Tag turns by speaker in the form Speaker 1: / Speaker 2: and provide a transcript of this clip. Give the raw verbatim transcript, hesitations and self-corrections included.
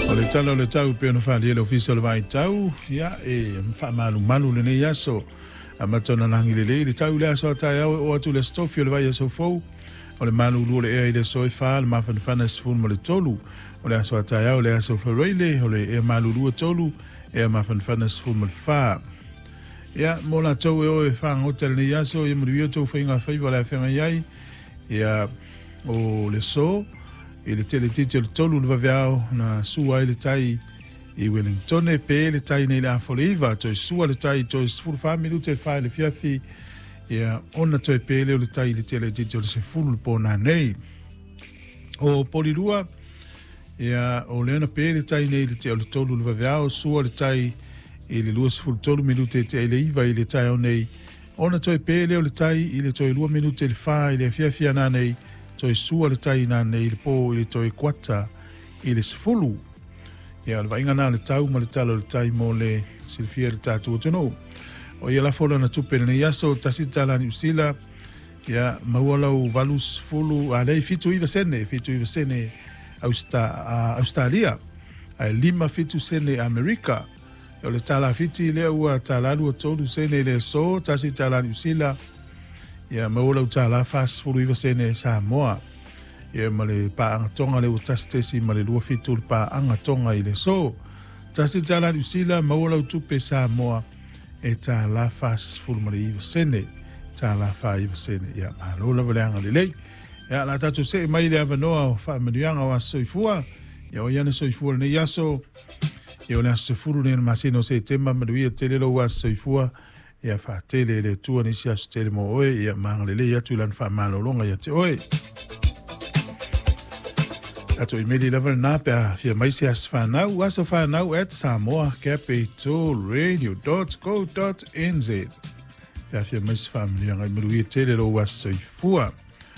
Speaker 1: O le tala o le tau pe ona whalia le ofisa o le vai tau, ia e whaamalumalu lenei aso. A matona langi le le, le tau le aso a tai au o atu le stofi o le vai aso fou. O le malulu o le ea i le so e wha, le mafanafana sefulu ma le tolu. O le aso a tai au le aso whareile, o le ea malulu a tolu, ea mafanafana sefulu ma le wha. Ia, mo la tau e o e whaangota lenei aso, ia manuia tau whainga whaiva le awhenga iai. Ia, o le so, i le tele titi o le tolu le vaveao na sua ai le tai i Wellington pe le tai nei le afole iva toe sua le tai toe sefulu fa minute e fa le fiafi ia ona toe pele o le tai i le tele titi o le sefulu le pona nei o Polirua ia o le ona pe le tai nei le te o le tolu le vaveao sua le tai i le lua sefulu tolu minute te i le iva i le tai o nei ona toe pele o le tai i le toe lua minute le fa i le fiafi ana nei toe sua le tai nā nei le pō i le toe kuata i le sefulu. Ia, o le vaaiga na le tau ma le tala o le tai mo le silafia le tatou atunuu. O ia lafo lana tupe lenei aso, tasi tala Niu Sila, ia maua lau valu sefulu, a lei fitu iva sene, fitu iva sene Austa, uh, Australia, ae lima fitu sene Amerika. O le tala Fiti lea ua tala lua tolu sene le aso, tasi tala Niu Sila, ia maua lau tala fasefulu iva sene Samoa. Ia ma le paaga Toga le ua tasi tesi ma le lua fitu le paaga Toga i le aso. Tasi tala Niu Sila maua lau tupe Samoa e tala fasefulu ma le iva sene. Tala fa iva sene. Ia malo lava le agalelei. Ia la tatou see mai le avanoa o faamanuiaga o aso soifua. Ia o iana soifua lenei aso. Ia o le aso sefulu le masina o Setema manuia tele lou aso soifua. Ia faatele e le Atua nisi aso tele mo oe. Ia magalelei atu i lana faamalologa ia te oe. Tatou imeli lava lena pe a fia mai se aso whanau, aso whanau at samoa capital radio dot co dot nz. Pe a fia mai se faamanuiaga i manuia tele lou aso soifua.